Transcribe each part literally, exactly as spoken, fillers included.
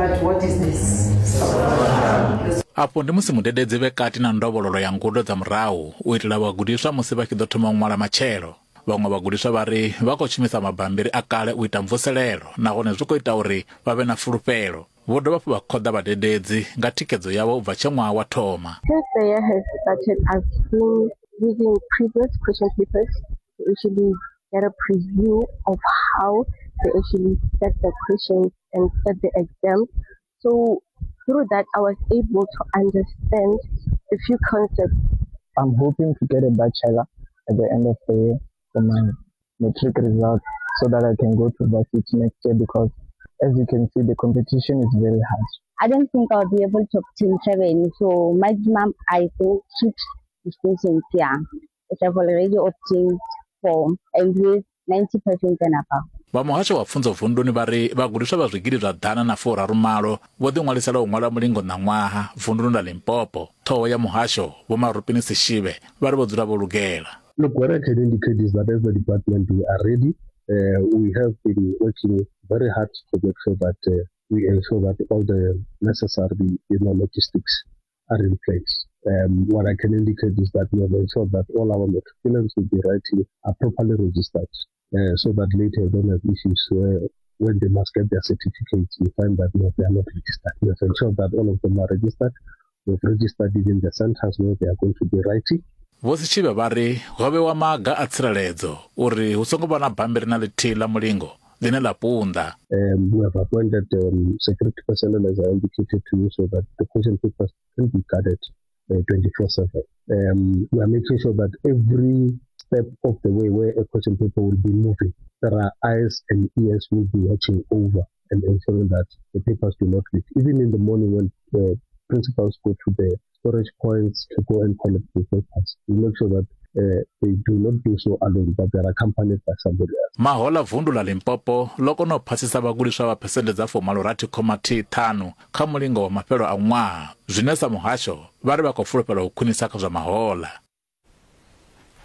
But what is this? Afho ndi musi mudededzi vhe kati na ndovhololo ya ngudo dza murahu u itela vhagudiswa musi vha tshi ḓo thoma u ṅwala matshelo. Vhaṅwe vhagudiswa vha ri vha khou shumisa mabambiri a kale u ita mvuselelo nahone zwi khou ita uri vha vhe na fulufhelo. Vho dovha hafhu vha khoḓa vhadededzi nga thikhedzo yavho u bva tshe ṅwaha wa thoma. Since the year has started, I've been using previous question papers to actually get a preview of how they actually set the questions and set the exam. So through that, I was able to understand a few concepts. I'm hoping to get a bachelor at the end of the year for my matric results so that I can go to varsity next year, because as you can see, the competition is very hard. I don't think I'll be able to obtain seven, so maximum I think six distinctions, yeah. Which I've already obtained four and with ninety percent and above. Vha muhasho wa pfunzo vunduni vha ri vhagudiswa vha zwigidi zwa ḓana na furaru malo vho ḓiṅwalisela u ṅwala mulingo ṋaṅwaha vunduni ḽa Limpopo. Ṱhoho ya muhasho Vho Marupini Sishibe vha ri vho dzula vho lugela. Look, what I can indicate is that as the department we are ready. Uh, we have been working very hard to make sure that uh, we ensure that all the necessary, you know, logistics are in place. Um, what I can indicate is that we have ensured that all our matriculants will be writing are properly registered, uh, so that later they don't have issues where when they must get their certificates, you find that no, they are not registered. We have ensured that all of them are registered. We have registered it in the centers where they are going to be writing. Vho Sishibe vha ri ho vhewa maga a tsireledzo uri hu songo vha na bammbiri na ḽithihi ḽa mulingo ḽine ḽa punḓa. Um, we have appointed um, security personnel, as I indicated to you, so that the question papers can be guarded twenty-four seven. Um, we are making sure that every step of the way where a question paper will be moving, there are eyes and ears will be watching over and ensuring that the papers do not leak. Even in the morning when the principals go to the storage points to go and collect the papers, we make sure that uh, they do not do so alone, but they are accompanied by somebody else. Mahola vundu la Limpopo ḽo kona u phasisa vhagudiswa vha phesenthe dza fumalo-rathi khoma thihi ṱhanu kha mulingo wa mafhelo a ṅwaha, zwine sa muhasho vha ri vha khou fulufhela u khwinisa kha zwa mahola.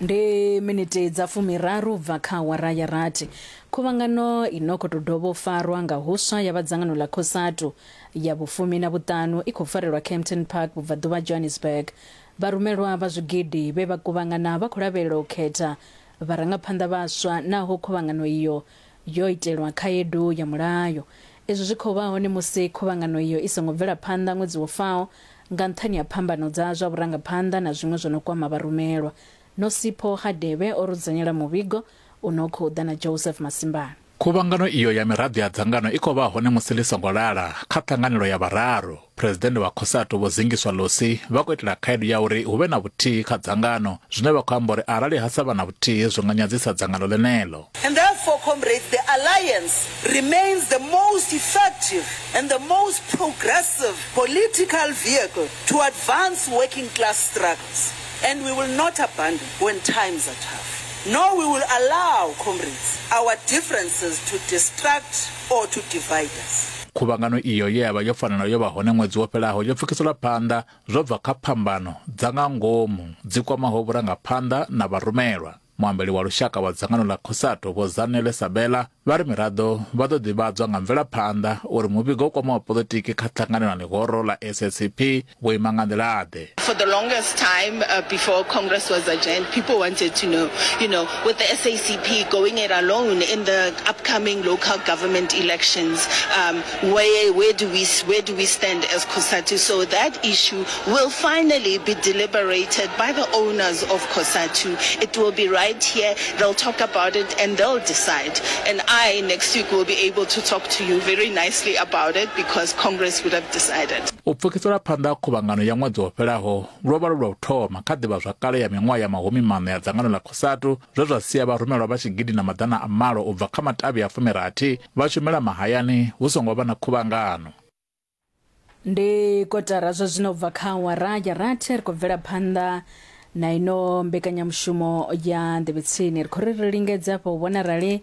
Ndi miniti dza fumiraru bva kha awara ya rathi. Khuvhangano ino khou tou dovha u farwa nga huswa ya vha dzangano ḽa COSATU ya vhufumi na vhuṱanu i khou farelwa Kempton Park vhubvaḓuvha Johannesburg. Vharumelwa vha zwigidi vhe vha kuvhangana vha khou lavhelela u khetha vharangaphanḓa vhaswa, naho khuvhangano iyo yo itelwa khaedu ya mulayo. Izwi zwi khou vha hone musi khuvhangano iyo i songo bvela phanḓa ṅwedzi wo faho nga nṱhani ha phambano dza zwa vhurangaphanḓa na zwiṅwe zwo no kwama vharumelwa. Nosipho Hadebe o rudzanyela muvhigo uno khou ḓa na Joseph Masimbana. Khuvhangano iyo ya miraḓo ya dzangano i khou vha hone musi ḽi songo lala kha ṱhanganelo ya vhararu. Phresidennde wa COSATU Vho Zingiswa Losi vha khou itela khaedu ya uri hu vhe na vhuthihi kha dzangano, zwine vha khou amba uri arali ha sa vha na vhuthihi zwi nga nyadzisa dzangano ḽeneḽo. And therefore, comrades, the alliance remains the most effective and the most progressive political vehicle to advance working class struggles. And we will not abandon when times are tough. Nor we will allow, comrades, our differences to distract or to divide us. Khuvhangano iyo ye ya vha yo fanela yo vha hone ṅwedzi wo fhelaho yo pfukiselwa phanḓa zwo bva kha phambano dza nga ngomu dzi kwamaho vhurangaphanḓa na vharumelwa. Muambeli wa lushaka wa dzangano ḽa COSATU Vho Zanele Sabela vha ri miraḓo vha ḓo ḓivhadzwa nga mvelaphanḓa uri muvhigo u kwamaho poḽotiki kha ṱhanganelo na ḽihoro ḽa S A C P vho ima nga nḓila-ḓe. For the longest time uh, before Congress was adjourned, people wanted to know, you know, with the S A C P going it alone in the upcoming local government elections, um, where where do we where do we stand as COSATU? So that issue will finally be deliberated by the owners of COSATU. It will be right here. They'll talk about it and they'll decide. And I next week will be able to talk to you very nicely about it because Congress would have decided. U pfukisela phanḓa khuvhangano ya ṅwedzi wo fhelaho lwo vha lu lwa u thoma kha ḓivhazwakale ya miṅwaha ya mahumi maṋa ya dzangano ḽa COSATU, zwe zwa sia vharumelwa vha tshigidi na maḓana a malo u bva kha matavhi a fumirathi vha shumela mahayani hu songo vha na khuvhangano. Ndi kotara zwa zwino bva kha awara ya rathi, ri khou bvela phanḓa na ino mbekanyamushumo ya nḓevhetsini. Ri khou ri ri lingedza hafha u vhona arali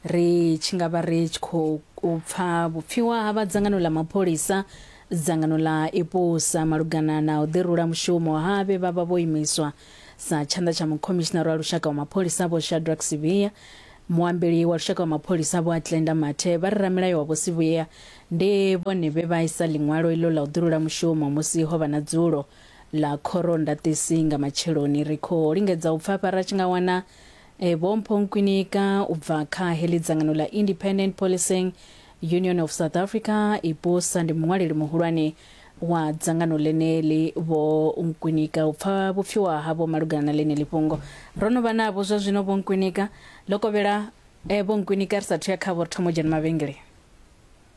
ri tshi nga vha ri tshi khou pfa vhupfiwa ha vha dzangano ḽa mapholisa, dzangano ḽa IPUSA malugana na u ḓirula mushumo ha vhe vha vha vho imiswa sa tshanḓa tsha mukhomishinara wa lushaka wa mapholisa Vho Shadrack Sibiya. Muambeli wa lushaka wa mapholisa Vho Atlenda Mathe vha ri ramilayo wa Vho Sibiya Ndi vhone vhe vha isa ḽiṅwalo ilo ḽa u ḓirula mushumo musi ho vha na dzulo ḽa khorondangisi nga matsheloni. Ri khou lingedza u pfa fha ra tshi nga wana e, Vho Mpho Nkwinika u bva kha heḽi dzangano ḽa Independent Policing Union of South Africa IPUSA, ndi muṅwaleli muhulwane wa dzangano ḽeneḽi. Vho Nkwinika, u pfa vhupfiwa havho malugana na ḽeneḽi fhungo. Ro no vha navho zwa zwino Vho Nkwinika. Ḽo kovhela e, Vho Nkwinika, ri sathu ya khavho ri thoma u dzhena mavhengele.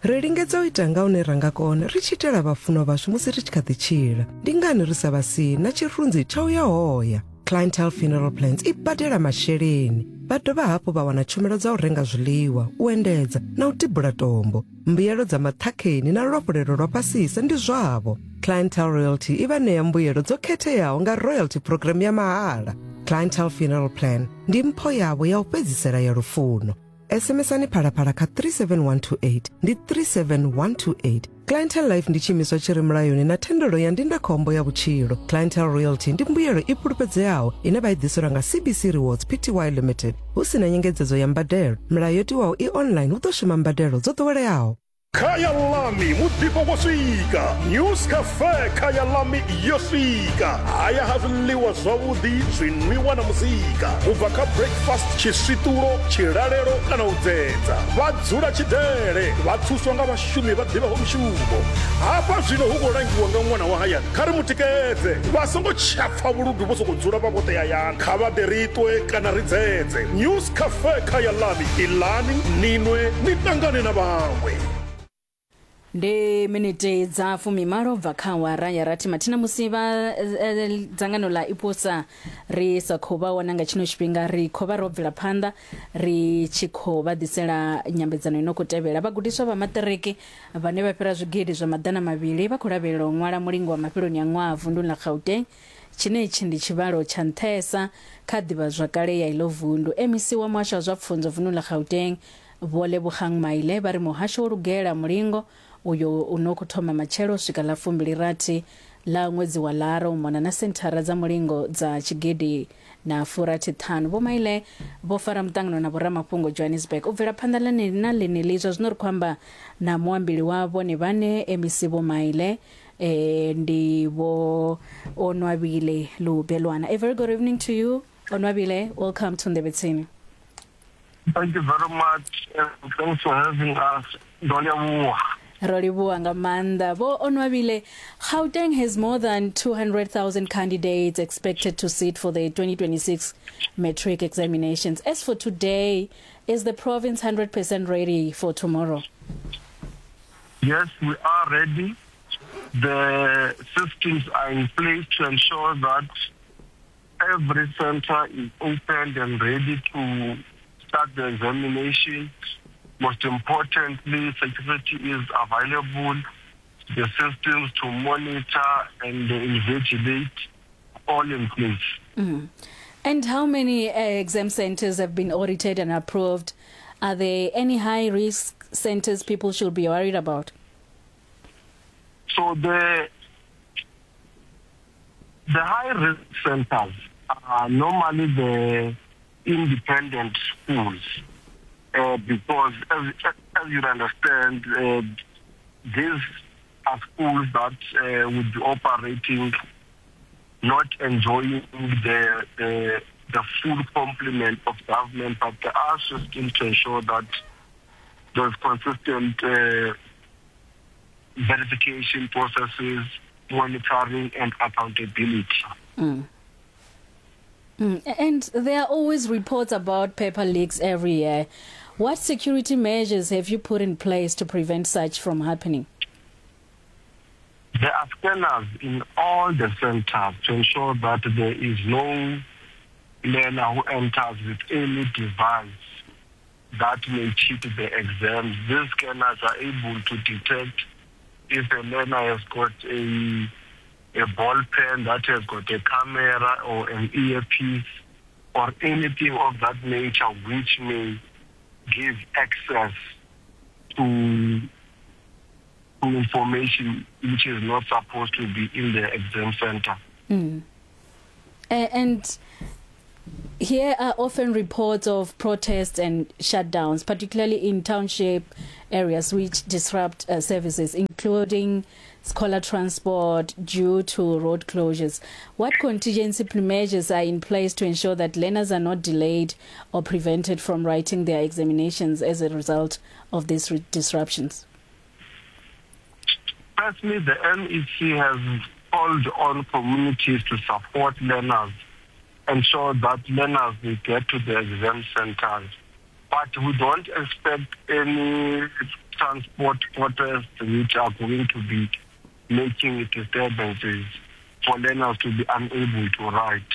Ri lingedza u ita nga hune ra nga kona ri tshi itela vhafunwa vhashu musi ri tshi kha ḓi tshila. Ndi ngani ri sa vha sii na tshirunzi tsha u ya hoya? Clientele Funeral Plans i badela masheleni. Vha dovha hafhu vha wana tshumelo dza u renga zwiḽiwa, u endedza na u tibula tombo. Mbuyelo dza maṱhakheni na luafhulelo lwa fhasisa ndi zwavho. Clientele Royalty i vha ṋea mbuyelo dzo khetheaho nga royalty program ya mahala. Clientele Funeral Plan ndi mpho yavho ya u fhedzisela ya lufuno. SMSani phalaphala kha three seven one two eight ndi three seven one two eight. Clientele Life ndi tshiimiswa tshi re mulayoni na thendelo ya ndindakhombo ya vhutshilo. Clientele Royalty ndi mbuyelo i fhulufhedzeaho ine vha i ḓiselwa nga C B C Rewards P T Y Limited hu si na nyengedzedzo ya mbadelo. Milayo yo tiwaho i online hu ḓo shuma mbadelo dzo ḓoweleaho. Khaya Lami muḓifho wo swika. News Cafe Khaya Lami yo swika. Haya ha zwiḽiwa zwavhuḓi, zwinwiwa na muzika. U bva kha breakfast, tshiswiṱulo, tshilalelo kana u dzedza. Vha dzula tshidele, vha thuswa nga vhashumi vha ḓivhaho mushumo. Hafha zwino hu khou langiwa nga ṅwana wa hayani. Kha ri mutikedze, vha songo tsha pfa vhuludu vho sokou dzula vha vhoṱhe hayani. Kha vha ḓe ri ṱwe kana ri dzedze. News Cafe Khaya Lami, iḽani, ninwe, ni ṱangane na vhaṅwe. Ndi miniti dza fumimalo bva kha awara ya rathi mathina musi vha eh, dzangano ḽa IPUSA ri sa khou vha wana nga tshino tshifhinga, ri khou vha ro bvela phanḓa ri tshi khou vha ḓisela nyambedzano ino khou tevhela. Vhagudiswa vha maṱiriki vhane vha fhira zwigidi zwa maḓana mavhili vha khou lavhelela u ṅwala mulingo wa mafheloni a ṅwaha vunduni ḽa Gauteng. Tshine itshi ndi tshivhalo tsha nṱhesa kha ḓivhazwakale ya ilo vundu. M E C wa muhasho wa zwa pfunzo vunduni ḽa Gauteng Vho Lebogang Maile vha ri muhasho wo lugela mulingo uyo uno khou thoma matshelo u swika ḽa fumbili rathi ḽa ṅwedzi wa Lara u mona na senthara dza mulingo dza tshigidi na furathi ṱhanu. Vho Maile vho fara muṱangano na vhoramafhungo Johannesburg. U bvela phanḓa ḽene na ḽeneḽi zwa zwino ri khou amba na muambeli wa vhone vhane M E C Vho Maile eh, ndi Vho Onwabile Lubelwana. A very good evening to you, Onwabile. Welcome to Ndebe Tsini. Thank you very much. Uh, thanks for having us. Ndo Ro livhuwa nga maanḓa. Vho Onwabile, Gauteng has more than two hundred thousand candidates expected to sit for the twenty twenty-six matric examinations. As for today, is the province one hundred percent ready for tomorrow? Yes, we are ready. The systems are in place to ensure that every center is opened and ready to start the examination. Most importantly, security is available, the systems to monitor and invigilate, all in place. Mm-hmm. And how many uh, exam centers have been audited and approved? Are there any high-risk centers people should be worried about? So the, the high-risk centers are normally the independent schools. Uh, because, as, as you understand, uh, these are schools that uh, would be operating, not enjoying the, the, the full complement of government, but there are systems to ensure that there's consistent uh, verification processes, monitoring, and accountability. Mm. Mm. And there are always reports about paper leaks every year. What security measures have you put in place to prevent such from happening? There are scanners in all the centers to ensure that there is no learner who enters with any device that may cheat the exams. These scanners are able to detect if a learner has got a a ball pen that has got a camera or an earpiece or anything of that nature which may give access to, to information which is not supposed to be in the exam center. Mm. And Here are often reports of protests and shutdowns, particularly in township areas, which disrupt uh, services, including scholar transport due to road closures. What contingency measures are in place to ensure that learners are not delayed or prevented from writing their examinations as a result of these disruptions? Firstly, the M E C has called on communities to support learners, ensure that learners will get to the exam centers. But we don't expect any transport protests which are going to be making disturbances for learners to be unable to write.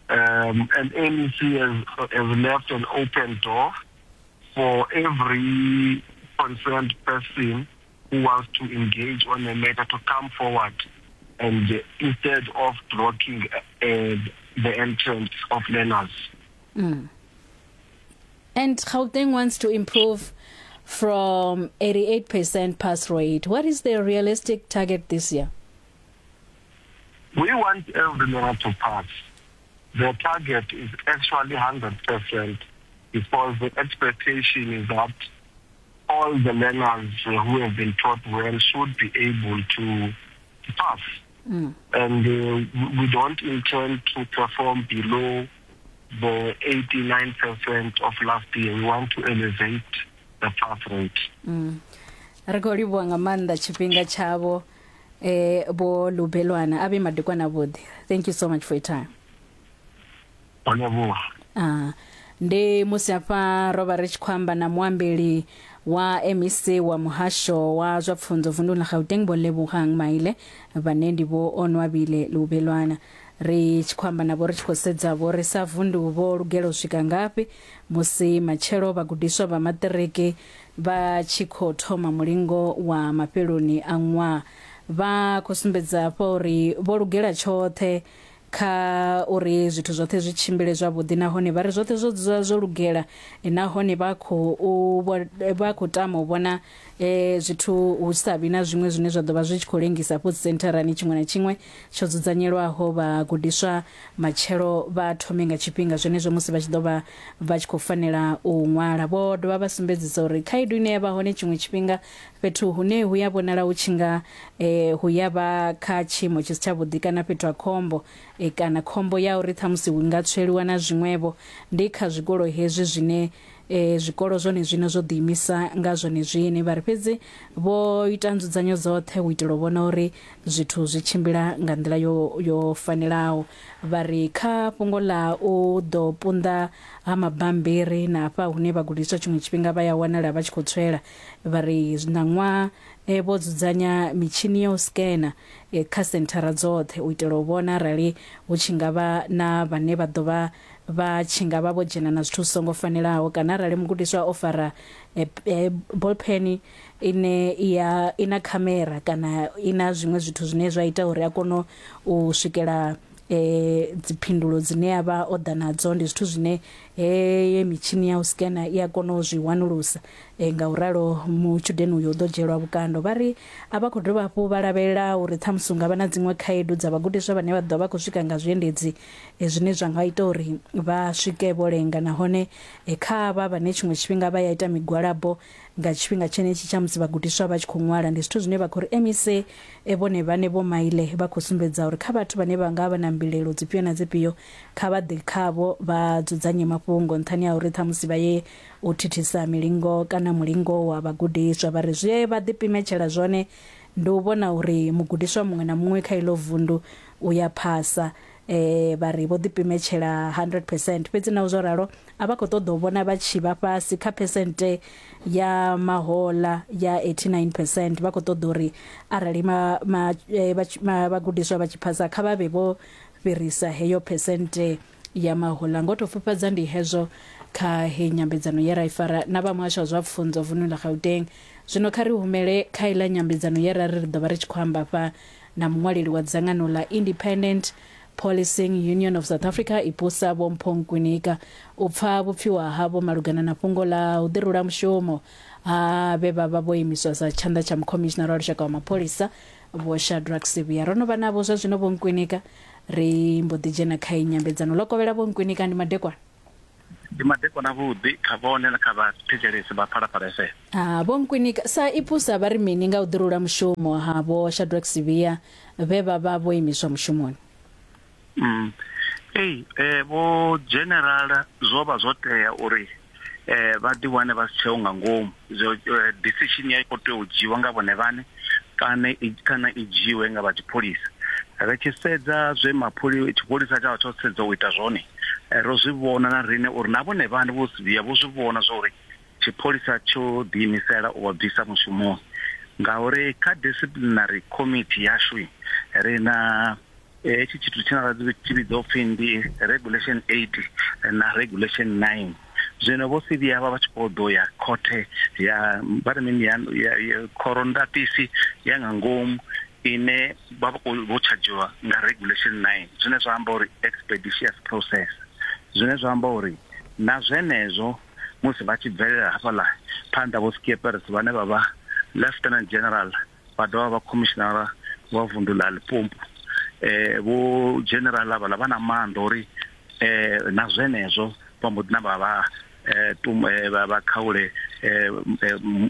Um, and M E C has, has left an open door for every concerned person who wants to engage on the matter to come forward, and uh, instead of blocking uh, the entrance of learners. Mm. And Gauteng wants to improve from eighty-eight percent pass rate. What is the realistic target this year? We want every learner to pass. The target is actually one hundred percent, because the expectation is that all the learners who have been taught well should be able to pass. Mm. And uh, we don't intend to perform below the eighty-nine percent of last year. We want to elevate the pass rate. Mm. Re khou livhuwa nga maanḓa tshifhinga tshavho eh bo Lubelwana abe madekwana vhuḓi. Thank you so much for your time. Olevhuwa. Ah, ndi musi afha ro vha ri tshi khou amba na muambeli wa M E C wa muhasho wa zwa pfunzo vunduni ḽa Gauteng Vho Lebogang Maile, vhane ndi Vho Onwabile Lubelwana. Ri tshi khou amba navho ri tshi khou sedza vho ri sa vundu vho lugela u swika ngafhi musi matshelo vhagudiswa vha maṱiriki vha tshi khou thoma mulingo wa mafheloni a ṅwaha. Vha khou sumbedza hafha uri vho lugela tshoṱhe kha uri zwithu zwoṱhe zwi tshimbile zwavhuḓi, nahone vha ri zwoṱhe zwo dzula zwo lugela, nahone vha khou vha khou tama u vhona eh zwithu hu sa vhi na zwiṅwe zwine zwa ḓo vha zwi tshi khou lengisa afho sentharani. Tshiṅwe na tshiṅwe tsho dzudzanyelwaho vhagudiswa matshelo vha thome nga tshifhinga zwenezwo musi vha tshi ḓo vha vha tshi khou fanela u ṅwala. Vho dovha vha sumbedzisa uri khaedu ine ya vha hone tshiṅwe tshifhinga fhethu hune hu ya vhonala hu tshi nga eh hu ya vha kha tshiimo tshi si tshavhuḓi kana fhethu ha khombo, e kana khombo ya uri ṱhamusi hu nga tsweliwa na zwiṅwevho, ndi kha zwikolo hezwi zwine e zwikolo zwone zwino zwo ḓiimisa nga zwone zwine. Vha ri fhedzi vho ita nzudzanyo dzoṱhe u itela u vhona uri zwithu zwi tshimbila nga nḓila yo yo fanelaho. Vha ri kha fhungo ḽa u ḓo punḓa ha mabambiri na hafha hune vhagudiswa tshiṅwe tshifhinga vha ya wanala vha tshi khou tswela, vha ri ṋaṅwaha e vho dzudzanya mitshini ya u scanner e, kha senthara dzoṱhe u itela u vhona arali hu tshi nga vha na vhane vha ḓo vha vha tshi nga vha vho dzhena na zwithu zwi songo fanelaho, kana arali mugudiswa o fara e, e, ballpen ine ya ina khamera kana ina zwiṅwe zwithu zwine zwa ita uri a kone u swikela e dziphindulo dzine a vha o ḓa nadzo. Ndi zwithu zwine he mitshini ya u scanner i a kona u zwi wanulusa, e, nga u ralo mutshudeni uyo u ḓo dzhielwa vhukando. Vha ri a vha khou dovha hafhu vha lavhelela uri ṱhamusi hu nga vha na dziṅwe khaedu dza vhagudiswa vhane vha ḓo vha khou swika nga zwiendedzi e, zwine zwa nga ita uri vha swike vho lenga, nahone e, kha avha vhane tshiṅwe tshifhinga vha ya ita migwalabo nga tshifhinga tshenetshi tsha musi vhagudiswa vha tshi khou ṅwala. Ndi zwithu zwine vha khou ri M E C e, vhone vhane Vho Maile vha khou sumbedza uri kha vhathu vhane vha nga vha na mbilelo dzifhio na dzifhio kha vha ḓe khavho vha dzudzanye mafhungo nṱhani ha uri ṱhamusi vha ye u thithisa milingo kana mulingo wa vhagudiswa. Vha ri zwe vha ḓipimetshela zwone ndi u vhona uri mugudiswa muṅwe na muṅwe kha ilo vundu u ya phasa. Eh vha ri vho ḓipimetshela one hundred percent, fhedzi na zwo ralo a vha khou ṱoḓa u vhona vha tshi vha fhasi kha phesente ya mahola ya eighty-nine percent. Vha khou ṱoḓa uri arali ma, ma, ma, vhagudiswa vha tshi phasa kha vha vhe vho fhirisa heyo phesente ya mahola. Ngo to fhufhadza ndi hezwo kha he nyambedzano ye ra i fara na vha muhasho wa zwa pfunzo vundu ḽa Gauteng. Zwino kha ri humele kha iḽa nyambedzano ye ra ri ri ḓo vha ri tshi khou amba fha na muṅwaleli wa dzangano ḽa Independent Policing Union of South Africa IPUSA Vho Mpho Nkwinika u pfa vhupfiwa havho malugana na fhungo ḽa u ḓirula mushumo ha vhe vha vha vho imiswa sa tshanḓa tsha mukhomishinara wa lushaka wa mapholisa Vho Shadrack Sibiya. Ro no vha navho zwa zwino Vho Nkwinika, ri mbo ḓi dzhena kha nyambedzano. Ḽo kovhela Vho Nkwinika, ndi madekwana. Ndi madekwana vhuḓi kha vhone na kha vhathetshelesi vha Phalaphala F M. Ah, Vho Nkwinika, sa ipusa vha ri mini nga u ḓirula mushumo ha Vho Shadrack Sibiya vhe vha vha vho imiswa mushumoni? Mm. Ei, eh, Vho General zwo vha zwo tea uri eh, vha ḓi wane vha si tsheo nga ngomu. Zwo decision ya khou tea u dzhiwa nga vhone vhane kana kana i dzhiwe nga vha tshipholisa. Ri tshi sedza zwe mapholi tshipholisa tsha tsho sedza u ita zwone, ro zwi vhona na rine uri na vhone vhane vho Sibiya vho zwi vhona zwa uri tshipholisa tsho ḓiimisela u vha bvisa mushumoni, ngauri kha disciplinary committee yashu ri na hetshi tshithu tshine ra tshi vhidza upfhi ndi regulation eight na regulation nine. Zwino Vho Sibiya vha vha tshi khou ḓo ya khothe ya vha ri mini ya khorondatisi ya nga ngomu ine vha vha vho tshadzhiwa nga regulation nine, zwine zwa amba uri expeditious process, zwine zwa amba uri na zwenezwo musi vha tshi bvelela hafhaḽa phanḓa Vho Skeepers vhane vha vha Lieutenant General vha dovha vha Commissioner wa vunḓu ḽa Limpopo, eh vho General avha vha na maanḓa uri eh na zwenezwo vha mbo ḓi namba vha eh vha vha khaule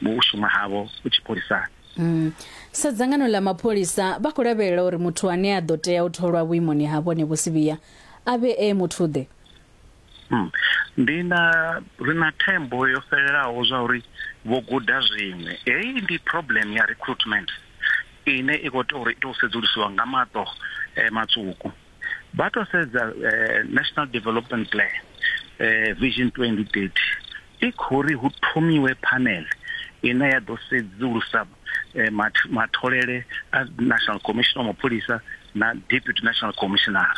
u shuma havho u tshipholisani. Mm. Sa dzangano ḽa mapholisa vha khou lavhelela uri muthu ane a ḓo tea u tholwa vhuimoni ha vhone Vho Sibiya a vhe e muthu ḓe? Mm. Ndi na ri na thembo yo fhelelaho zwa uri vho guda zwiṅwe. Heyi ndi problem ya recruitment ine i khou tea uri i tou sedzulusiwa nga maṱo eh, matswuku. Vha tou sedza eh, National Development Plan eh, Vision twenty thirty i khou ri hu thomiwe panel ine ya ḓo sedzulusa eh, matholele a National Commissioner wa mapholisa na Deputy National Commissioner.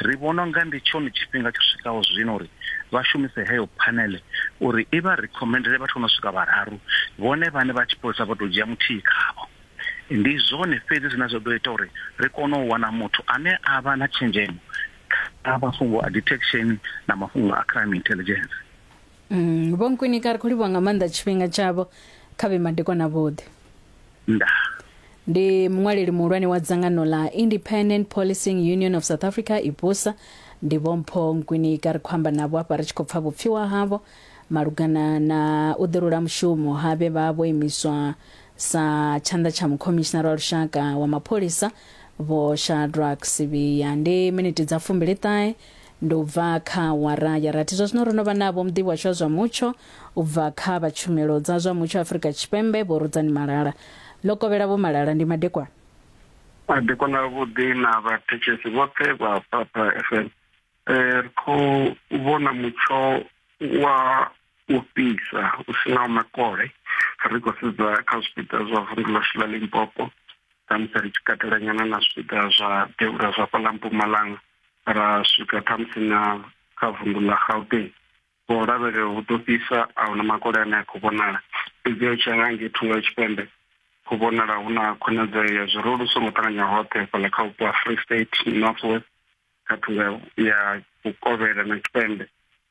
Ri vhona nga ndi tshone tshifhinga tsho swikaho zwino uri vha shumise heyo panel uri i vha recommendele vhathu no swika vhararu, vhone vhane vha tshipholisa vha tou dzhia muthihi khavho. Ndi zwone fhedzi zwine zwa ḓo ita uri ri kone u wana muthu ane a vha na tshenzhemo kha mafhungo a detection na mafhungo a crime intelligence. Mm, Vho Nkwinika, ri khou livhuwa nga maanḓa tshifhinga tshavho, kha vhe madekwana vhuḓi. Nda. Ndi muṅwaleli muhulwane wa dzangano ḽa Independent Policing Union of South Africa IPUSA, ndi Vho Mpho Nkwinika. Ri khou amba navho hafha ri tshi khou pfa vhupfiwa havho malugana na u ḓirula mushumo ha vhe vha vho imiswa sa tshanḓa tsha mukhomishinara wa lushaka wa mapholisa Vho Shadrack Sibiya. Ndi miniti dza fumbili ṱahe ndi u bva kha wara ya rathi. Zwa zwino ro no vha navho muḓivhi washu wa zwa mutsho u bva kha vha tshumelo dza zwa mutsho Afrika Tshipembe Vho Rudzani Malala. Ḽo kovhela Vho Malala, ndi madekwana. Madekwana vhuḓi na vhathetshelesi vhoṱhe vha Phalaphala F M. Eh, ri khou vhona mutsho wa u fhisa u sinaho makole. Ri khou sedza kha zwipiḓa zwa vunḓu ḽashu ḽa Limpopo, ṱhamusi ri tshi katela nyana na zwipiḓa zwa devhula zwa fhaḽa Mpumalanga, ra swika ṱhamusi na kha vunḓu ḽa Gauteng. Vho lavhelela hu ḓo fhisa, a huna makole ane a khou vhonala. Fhedzi u tshi ya nga ngei thungo ya tshipembe khou vhonala hu na khonadzeo ya zwirulu songo ṱanganya hoṱhe fhaḽa kha vhupo ha Free State, North West, kha thungo ya vhukovhela na tshipembe,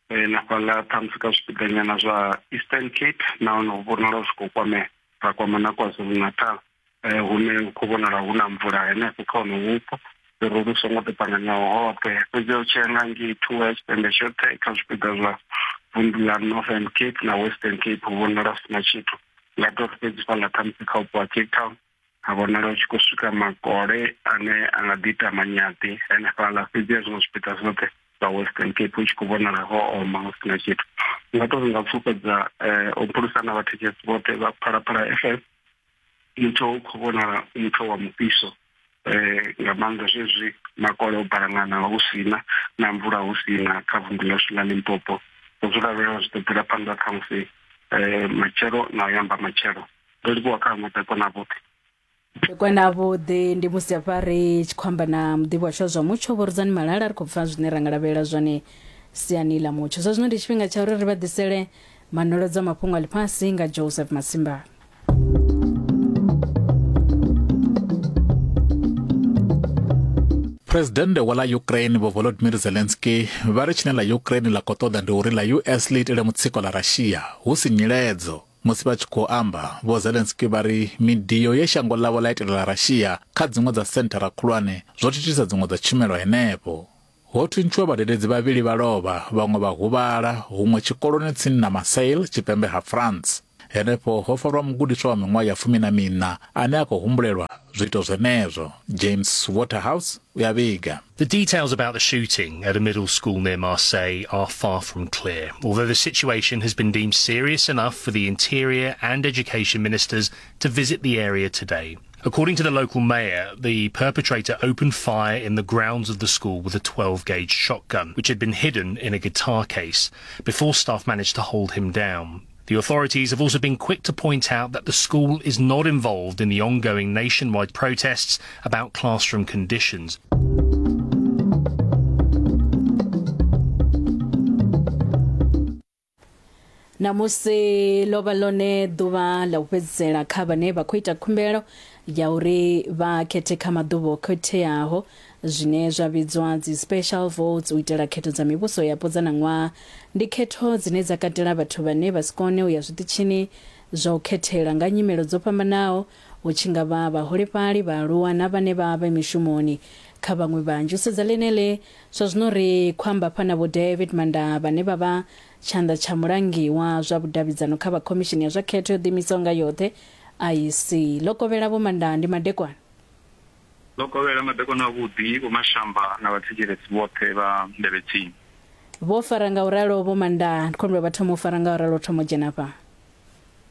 na fhaḽa ṱhamusi kha zwipiḓa nyana zwa Eastern Cape, nahone hu vhonala zwi khou kwamea. Ra kwama na KwaZulu-Natal, hune hu khou vhonala hu na mvula henefho kha hono vhupo, zwirulu songo tou ṱanganyaho hoṱhe. Fhedzi u tshi ya nga ngei thungo ya tshipembe tshoṱhe kha zwipiḓa zwa vunḓu ḽa Northern Cape na Western Cape hu vhonala hu sina tshithu. Nga tou fhedzi fhaḽa ṱhamusi kha vhupo ha Cape Town ha vhonala hu tshi khou swika makole ane a nga ḓi ita manyaḓi henefhaḽa, fhedzi ya zwiṅwe zwipiḓa zwoṱhe zwa Western Cape hu tshi khou vhonala ho oma hu sina tshithu. Nga tou nga pfufhedza u phulusa na vhathetshelesi vhoṱhe vha Phalaphala F M, mutsho u khou vhonala mutsho wa mufhiso eh nga maanḓa zwezwi makole o balangana hu sina na mvula hu sina kha vunḓu ḽashu ḽa Limpopo. Zwi lavhelela zwi ḓo bvela phanḓa khamusi eh matshelo na u yamba matshelo. Ndo livhuwa kha madekwana vhoṱhe. Madekwana vhuḓi. Ndi musi hafha ri tshi khou amba na muḓivhi washu wa zwa mutsho Vho Rudzani Malala, ri khou pfa zwine ra nga lavhelela zwone siani ḽa mutsho. Zwa zwino ndi tshifhinga tsha uri ri vha ḓisele manolodzo a mafhungo a ḽifhasi nga Joseph Masimba. Presidennde wa ḽa Ukraine Vho Volodymyr Zelensky vha ri tshine ḽa Ukraine ḽa khou ṱoḓa ndi uri ḽa U S ḽi itele mutsiko ḽa Russia hu si nyiledzo Musi vha tshi khou amba, Vho Zelensky vha ri midio ye shango ḽavho ḽa itela Russia kha dziṅwe dza senthara khulwane zwo thithisa dziṅwe dza tshumelo henefho. Ho thuntshiwa vhadededzi vhavhili vha lovha, vhaṅwe vha huvhala huṅwe tshikoloni tsini na Marseille tshipembe ha France. Henefho ho farwa mugudiswa wa miṅwaha ya fumi na miṋa ane a khou humbulelwa zwiito zwenezwo. James Waterhouse u ya vhiga. The details about the shooting at a middle school near Marseille are far from clear, although the situation has been deemed serious enough for the Interior and Education ministers to visit the area today. According to the local mayor, the perpetrator opened fire in the grounds of the school with a twelve-gauge shotgun, which had been hidden in a guitar case, before staff managed to hold him down. The authorities have also been quick to point out that the school is not involved in the ongoing nationwide protests about classroom conditions. Namusi ḽo vha ḽone ḓuvha ḽa u fhedzisela kha vhane vha khou ita khumbelo ya uri vha khethe kha maḓuvha o khetheaho zwine zwa vhidzwa dzi special votes u itela khetho dza mivhuso yapo dza ṋaṅwaha. Ndi khetho dzine dza katela vhathu vhane vha si kone u ya zwiṱitshini zwa u khethela nga nyimelo dzo fhambanaho, hu tshi nga vha vhaholefhali, vhaaluwa na vhane vha vha mishumoni. Kha vhaṅwe vhanzhi u sedza ḽeneḽi zwa zwino ri khou amba fha na Vho David Manda vhane vha vha tshanḓa tsha mulangi wa zwa vhudavhidzano kha vha khomishini ya zwa khetho yo ḓiimisaho nga yoṱhe I E C. Ḽo kovhela Vho Manda, ndi madekwana. Ḽo kovhela madekwana avhuḓi Vho Mashamba na vhathetshelesi vhoṱhe vha Nḓevhe Tsini. Vho fara nga uralo Vho Manda, ndi khou humbela vha thoma u fara nga uralo thoma u dzhena fha.